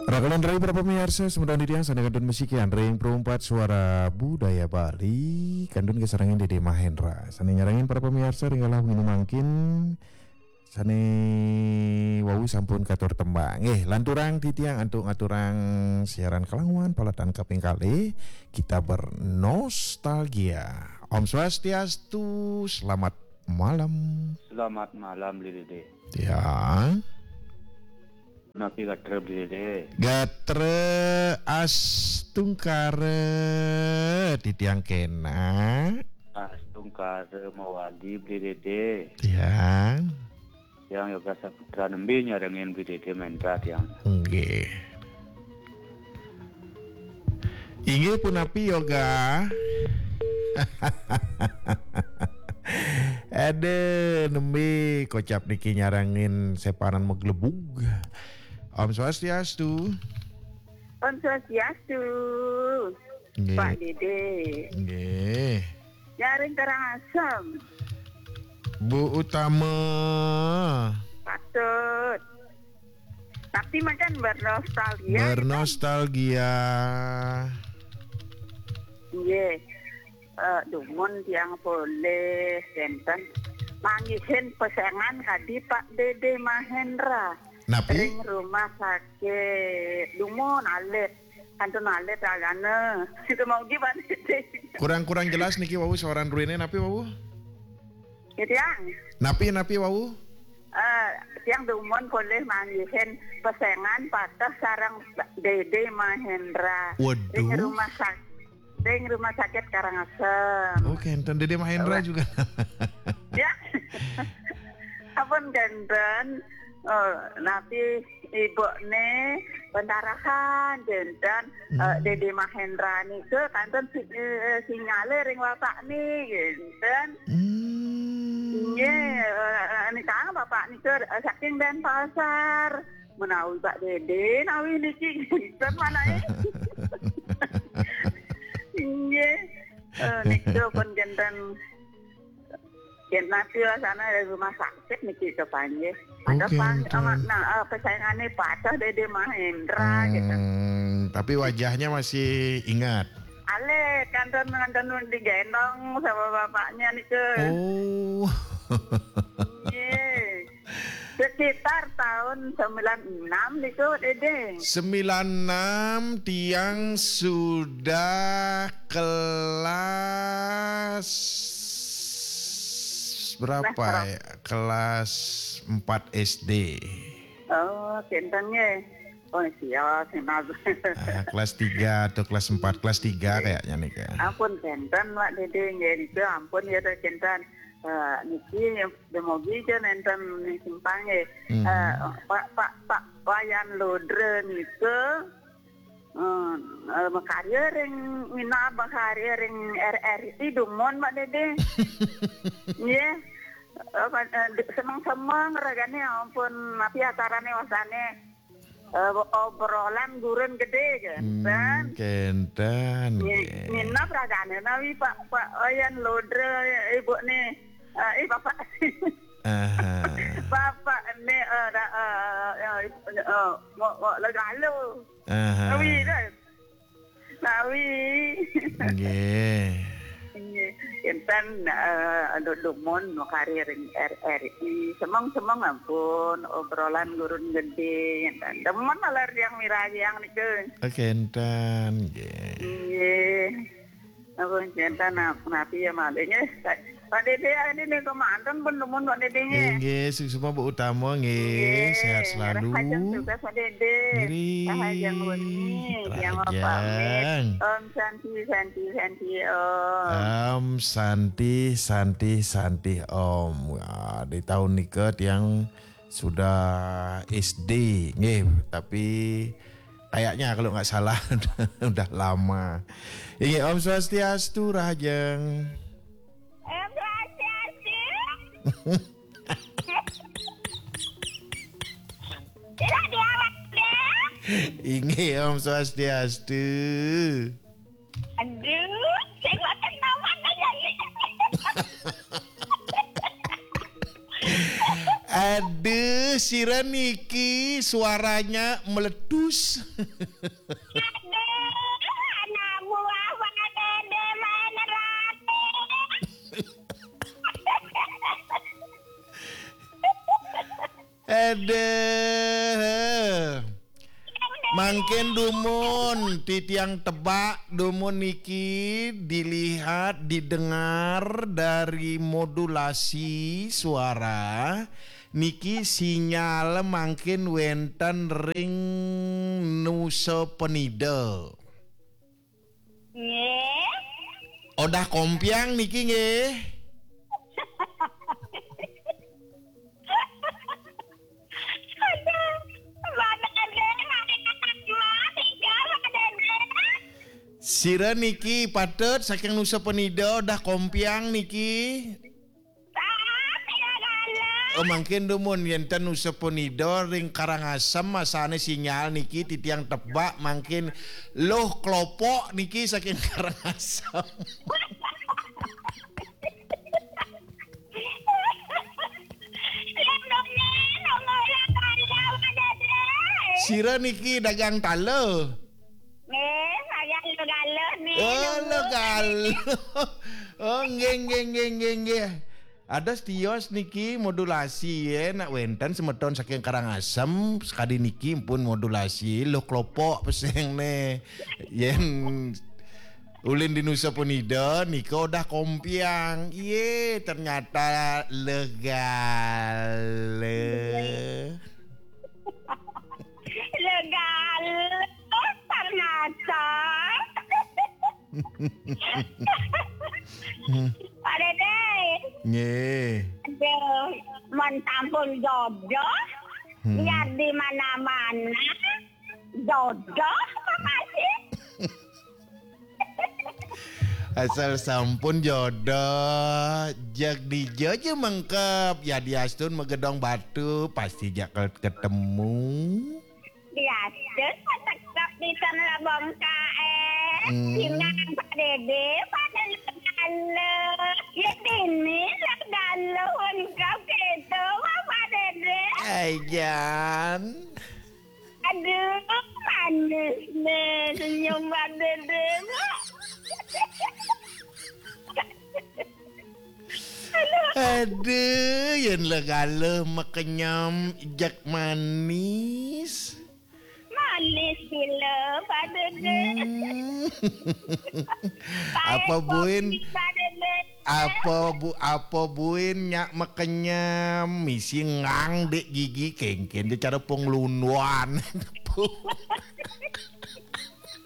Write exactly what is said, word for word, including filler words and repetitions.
Raka lan rai para pamiarsa, semeton titiang sané kantun masikian ring Pro empat Suara Budaya Bali, kantun kasarengin Dédé Mahendra. Sané nyarengin para pamiarsa ring galah wengi mangkin, sané wau sampun katur tembang. Nggih, lanturang titiang antuk ngaturang siaran kalanguan paletan kaping kalih, kita bernostalgia. Om Swastiastu, selamat malam. Selamat malam, Bli Dédé. Ya. Napi gatra, Bli Dédé? Gatra astungkara titiang kénak. Astungkara mawali, Bli Dédé. Ya. Tiang Yoga Saputra, nembé nyarengin Bli Dédé Mahendra tiang. Nggih. Inggih punapi, Yoga? Ada nembé kocap niki nyarengin sepanan maglebug. Om Swastiastu. Om Swastiastu. Nggih. Pak Dédé. Nggih. Nyaring Karangasem. Bu Utama. Patut. Tapi macam bernostalgia. Bernostalgia. Nggih. Eh, dumun tiang polih, kénten. Manggihin pesengan kadi Pak Dédé Mahendra. Napi? Ring rumah sakit. Dumun alit. Kantun alit ragane. Kita mau gimana sih? Kurang-kurang jelas niki wau suaran ruine, napi wau? Ya, tiang. Napi, napi wau? Eh, tiang dumun polih manggihin pesengan pateh sareng Dédé Mahendra. Waduh. Ring rumah sakit. Ring rumah sakit Karangasem. Oh, kénten Dédé Mahendra juga. Ya. Ampun, kénten. Oh, napi ibu né pendarahan, kénten, eh, Dédé Mahendra nika kantun si-, eh, singgale ring bapak né, kénten. Hmm. Nggih, eh, nika bapak nika, eh, saking Denpasar. Menawi Pak Dédé, nawi niki, kénten manahe. Nggih. Eh, nika pun kénten. Yen napi wasana dari rumah sakit niki kepanggih. Oh, ada pang-, kénten. Amat nah, eh, pesayangane patah Dédé Mahendra gitu. Hmm, tapi wajahnya masih ingat. Alit, kantun, kantun digendong sama bapaknya nika. Oh. Nggih. Sekitar tahun sembilan enam niku, Dédé. Sembilan enam tiang sudah kelas berapa? Kelas berapa? Ya? Kelas empat S D. Oh, kénten nggih. Oh, siap, siap. Ah, kelas tiga atau kelas empat, kelas tiga kayaknya nih, Kak. Ampun, kénten, Pak Dédé, nggih, niku ampun ya, kénten. Eh, niki Demogi ja nénten ning simpang nggih. Hmm. Eh, Pak, Pak, Pak Wayan Ludra nika, eh, eh, makarya ring, minab makarya ring R R I dumun, Pak Dédé. Nggih. Eh, kan, eh, di-, semeng-semeng ragane, ampun, napi acarane wasane? Eh, obrolan gurun gedé, kénten. Hmm, kénten, nggih. Nginep ragane nawi Pak, Pak Wayan Ludra, ibu nih, eh, eh, bapak. Aha. Bapak nih, eh, ra-, eh, eh, eh, ngok, ngok legalu. Aha. Nawi dah. Nawi. Nggih. Nggih. Kénten, eh, anu dumun makarya ring R R I. Semeng-semeng ampun, obrolan gurun gedé. Kénten. Demen alar yang mirayang nika. Oh, kénten, nggih. Nggih. Ampun, kénten, nap-, napi ya malih, nggih. Pak Dédé, ini nih kemanten pun dumun Pak Dédé, nggih. Nggih, nggih, suksma Bu Utama, nggih. Nggih, sehat selalu. Rahajeng tugas Pak Dédé. Nggih. Rahajeng wengi, tiang rahajeng pamit. Om Santi, Santi, Santi, Om. Om Santi, Santi, Santi, Om. Wah, di tahun nika tiang sudah S D, nggih, tapi kayaknya kalau nggak salah udah lama. Nggih, Om Swastiastu, rahajeng. Om Swastiastu. Tidak diawak deh. Inggih, Om Swastiastu. Aduh, saya makan nama aja. Aduh. Eh, sira niki suaranya meletus. Anak buah Pak Dede main rate. Aduh. Mangkin dumun titiang tebak dumun niki dilihat didengar dari modulasi suara niki sinyal mangkin wenten ring Nusa Penida. Nggih. Odah kompiang niki nggih. Aduh, Pak Dede, nanti kata dua, tiga, Pak Dede. Sira niki patut saking Nusa Penida odah kompiang niki. Saat tidak ada. Oh, mangkin dumun yenten Nusa Penida ring Karangasem asane sinyal niki titiang tebak mangkin Luh Klopok niki saking Karangasem. Sira niki dagang tala. Nggih, saya lu galuh nih. Oh, lu galuh. Oh, nggih, nggih, nggih, nggih, nggih. Ada tios niki modulasi ya, nak wenten semeton saking Karangasem, sekadi niki pun modulasi, Luh Klopok peseng ne. Yen ulin di Nusa Penida, nika udah kompiang. Iye, ternyata legale. Legal ternyata. Pak Dede, Nggih. aduh, mon sampun jodoh, Hmm. biar di mana-mana jodoh, Pak Haji. Asal sampun jodoh, jag dija ja mengkep, ya diastun magedong batu, pasti ja ketemu. Biasa setegap di sana bongkae. Hmm. Sinang Pak Dede, pada legale. Ya dini legale, ungkap gitu, Pak Dede. Aijan. Aduh, manis nih senyum Pak Dede. Aduh, yen legale makenyem jak manis. Manis gila, Pak Dede. Hmm. Apa buin? Apa bu apa buin nyak makenyem misi ngang dek gigi kengken dia cara penglunduan.